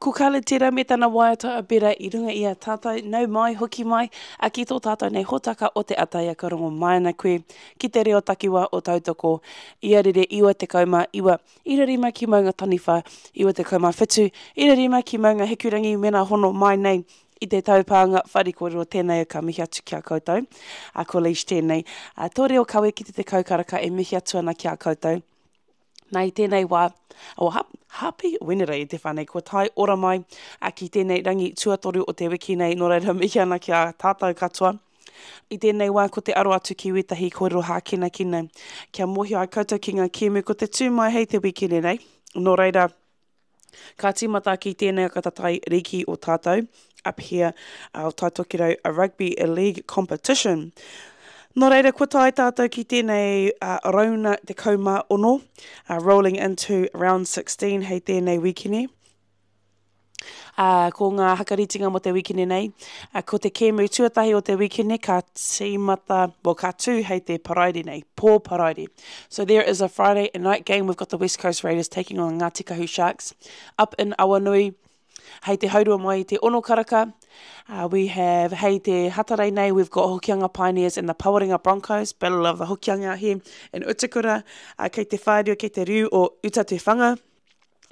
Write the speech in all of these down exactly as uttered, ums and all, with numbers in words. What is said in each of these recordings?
Ko Khalid tērā me tana waiata a Bera i runga i a tātou, nau mai, hoki mai, a ki tō tātou nei hōtaka o te Ataia ka rongo mai ana koe ki te reo takiwā o Tautoko i a rere iwa tekau mā iwa, ira rima ki Maunga Taniwha, iwa tekau mā whitu, ira rima ki Maunga Hikurangi mena hono mai nei i te taupānga whare kōrero tēnei ka mihi atu ki a koutou. A ko Leish tēnei. A, tō reo kawe ki te tekau karaka e mihi atu ana ki a koutou. Nā i tēnei wā, o oh, happy Wenerei te whanei, kua tae ora mai a ki tēnei rangi tuatoru o te wiki nei, nō reira mihi ana ki a tātou katoa. I tēnei wā ko te aro atu ki wētahi kōrero hākinakina, kia mōhio ai koutou ki ngā kēmu ko te tū mai hei te wikene nei. Nō reira, ka tīmata ki tēnei akatatai riki o tātou, up here, uh, o Taitokerau a Rugby League Competition. Nō reira, kua tae tātou ki tēnei uh, rauna te kaumā ono, uh, rolling into round sixteen hei tēnei wikene. Uh, ko ngā hakaritinga mo te wikene nei. Uh, ko te kēmu tuatahi o te wikene ka tīmata, well, ka tū hei te paraire nei, pō paraire. So there is a Friday night game. We've got the West Coast Raiders taking on Ngāti Kahu Sharks up in Awanui. Hei te haurua mai i te ono karaka. Uh, we have, hei te hatarei nei, we've got Hokianga Pioneers and the Pawarenga Broncos, Battle of the Hokianga here in Utakura. Uh, kei te whārio, kei te riu o Uta Te Whanga.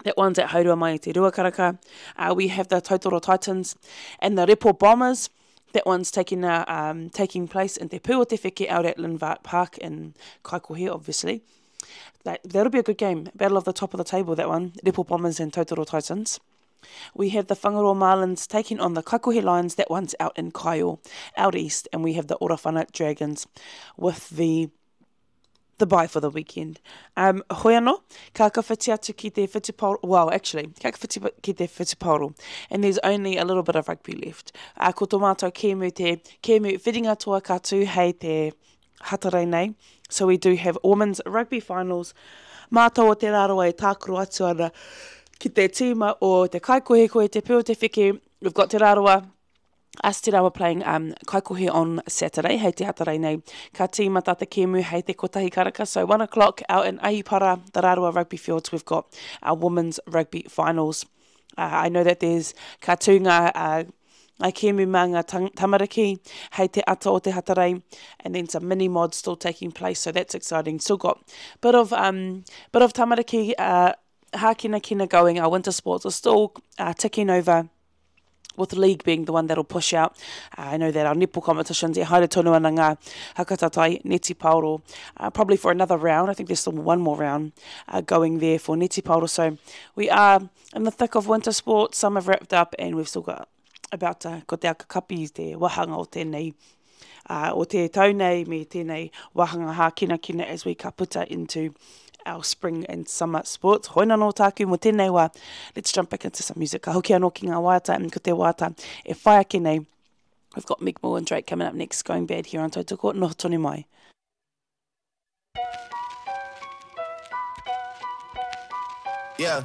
That one's at haurua mai i te rua karaka. Uh, we have the Tautoro Titans and the Repo Bombers. That one's taking, uh, um, taking place in Te Pū o Te Wheke out at Linvart Park in Kaikohe, obviously. That, that'll be a good game. Battle of the top of the table, that one. Repo Bombers and Tautoro Titans. We have the Whangaroa Marlins taking on the Kaikohe Lions. That one's out in Kaio, out east. And we have the Orowhana Dragons with the, the bye for the weekend. Um, hoi anō, ka kawhiti atu ki te whutupaoro, well, actually, ka kawhiti ki te whutupaoro, and there's only a little bit of rugby left. Uh, ko tō mātou kēmu te kēmu whiringa toa ka tū hei te hatarei nei. So we do have women's rugby finals. Mātou o te Rarawa e tākaro atu ana ki te tīma o te Kaikohekohe, te Pū o Te Wheke. We've got Te Rarawa, us Te Rarawa playing, um, Kaikohe on Saturday, hei te hatarei nei. Ka tīmata te kēmu hei te kotahi karaka. So one o'clock out in Ahipara, the Rarawa Rugby Fields, we've got our women's rugby finals. Uh, I know that there's ka tū ngā, uh, ngā kēmu mā ngā tang-, tamariki hei te ata o te hatarei, and then some mini mods still taking place, so that's exciting. Still got bit of, um, bit of tamariki, uh, hākinakina going. Our winter sports are still, uh, ticking over, with the league being the one that'll push out. Uh, I know that our netball competitions, e haere tonu ana ngā hakatatai, neti paoro, uh, probably for another round. I think there's still one more round, uh, going there for neti paoro. So we are in the thick of winter sports. Some have wrapped up and we've still got about to, ko te akakapi te wahanga o tēnei, uh, o te tau nei me tēnei wahanga hākinakina as we ka puta into our spring and summer sports. Hoi nā nō tāku mō tēnei wā. Let's jump back into some music. Ka hoki anō ki ngā waiata, and ko te waiata e whai ake nei. We've got Meg Moore and Drake coming up next, Going Bad here on Tautoko. Noho tonu mai. Yeah.